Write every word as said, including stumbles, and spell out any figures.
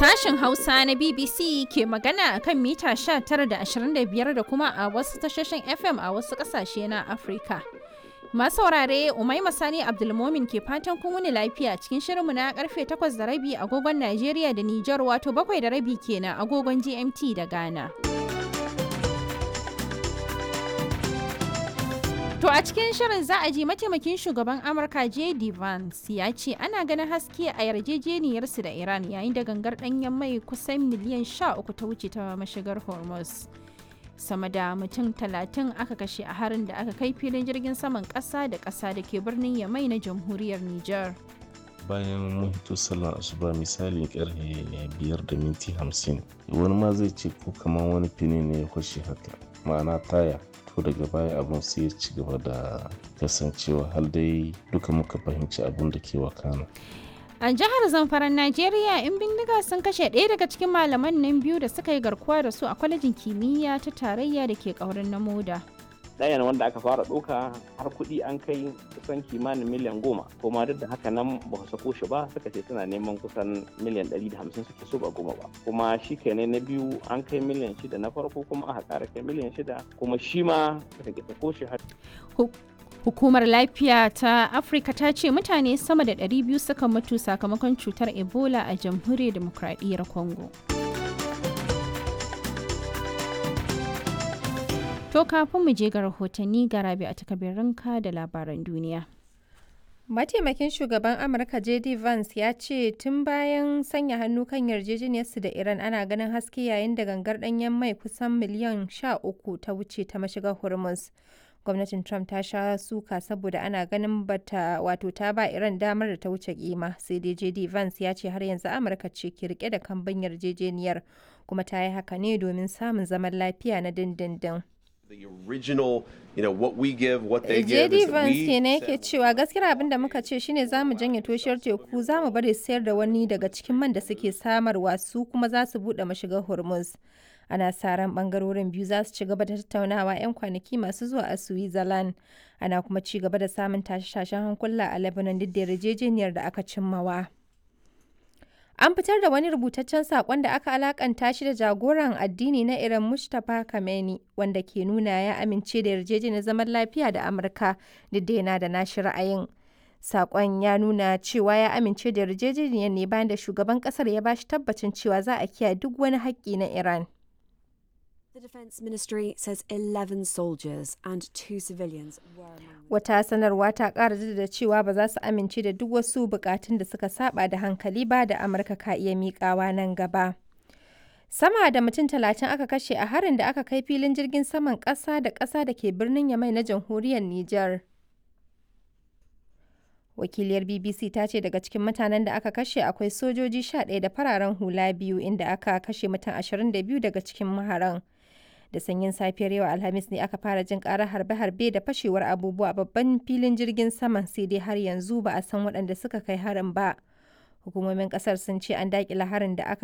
Sashen Hausa na B B C ke magana a kan mita sha tara da ashirin da biyar da kuma a wasu tashoshin F M a wasu ƙasashe na Afirka. Masu saurare, Umaima Sani Abdulmomin ke fatan kun wuni lafiya cikin shirinmu na karfe takwas da rabi agogon Najeriya da Nijar, wato bakwai da rabi kenan agogon G M T da Ghana. To a cikin shirin za a ji mataimakin shugaban Amurka J D Vance ya ce ana ganin haske a yarjejeniyarsu da Iran, yayin da gangar ɗanyen mai kusan miliyan sha uku ta wuce ta mashigar Hormuz. Sama da mutum talatin aka kashe a harin da aka kai filin jirgin saman ƙasa da ƙasa da ke birnin Yamai na jamhuriyar Nijar. Bayan mun hito sallar asuba, misalin karfe biyar da minti hamsin, wani ma zai ce ko kamar wani fini ne ya kwashe haka, ma'ana taya. To, daga baya abun sai ya ci gaba da kasancewa har dai duka muka fahimci abun da ke wakana. A jihar Zamfaran Najeriya, 'yan bindiga sun kashe ɗaya daga cikin malaman nan biyu da suka yi garkuwa da su a kwalejin kimiyya ta tarayya da ke ƙaurin na Moda. Ɗayan wanda aka fara ɗauka, har kuɗi an kai kusan kimanin miliyan goma, kuma duk da haka nan ba su sako shi ba. Suka ce suna neman kusan miliyan ɗari da hamsin suke so, ba goma ba. Kuma shi kenan, na biyu an kai miliyan shida na farko, kuma aka ƙara kai miliyan shida, kuma shi ma suka ƙi sako shi har. Hukumar Lafiya ta Afirka ta ce mutane sama da ɗari biyu suka mutu sakamakon cutar Ebola a Jamhuriyar Demokradiyyar Congo. To, kafin mu je ga rahotanni, ga Rabi a takabirinka da labaran duniya. Mataimakin shugaban Amurka J D Vance ya ce tun bayan sanya hannu kan yarjejeniyarsu da Iran ana ganin haske, yayin da gangar ɗanyen mai kusan miliyan sha uku ta wuce ta mashigar Hormuz. Gwamnatin Trump ta sha suka saboda ana ganin bata wato ta ba Iran damar da ta wuce kima, sai dai J D Vance ya ce har yanzu Amurka ce ke rike da kambun yarjejeniyar, kuma ta yi haka ne domin samun zaman lafiya na dindindin. The original, you know, what we give, what they give J D is that Vance we kenan yake cewa gaskiyar abin da muka ce shine za mu janye toshiyar teku, za mu bari sayar da wani daga cikin man da suke samarwa, su kuma za su buɗe mashigar Hormuz. Ana sa ran bangarorin biyu za su ci gaba da tattaunawa 'yan kwanaki masu zuwa a Switzerland. Ana kuma ci gaba da samun tashe-tashen hankula a Lebanon duk da yarjejeniyar da aka cimmawa. An fitar da wani rubutaccen saƙon da aka alakanta shi da jagoran addini na Iran Mujtaba Khamenei, wanda ke nuna ya amince da yarjejeniyar zaman lafiya da Amurka, duk da yana da nashi ra'ayin. Saƙon ya nuna cewa ya amince da yarjejeniyar ne bayan da shugaban ƙasar ya bashi tabbacin cewa za a kiyaye duk wani haƙƙi na Iran. The Defence Ministry says eleven soldiers and two civilians were among Wata sanarwa ta ƙara jaddada cewa ba za su amince da duk wasu buƙatun da suka saba da hankali ba da Amurka ka iya miƙawa nan gaba. Sama da mutum talatin aka kashe a harin da aka kai filin jirgin saman ƙasa da ƙasa da ke birnin Yamai na jamhuriyar Nijar. Wakiliyar B B C ta ce daga cikin mutanen da aka kashe akwai sojoji sha ɗaya da fararen hula biyu, inda aka kashe mutum ashirin da biyu daga cikin maharan. Da sanyin safiyar yau Alhamis ne aka fara jin karar harbe-harbe da fashewar abubuwa a babban filin jirgin saman, sai dai har yanzu ba a san waɗanda suka kai harin ba. Hukumomin kasar sun ce an daƙile harin da aka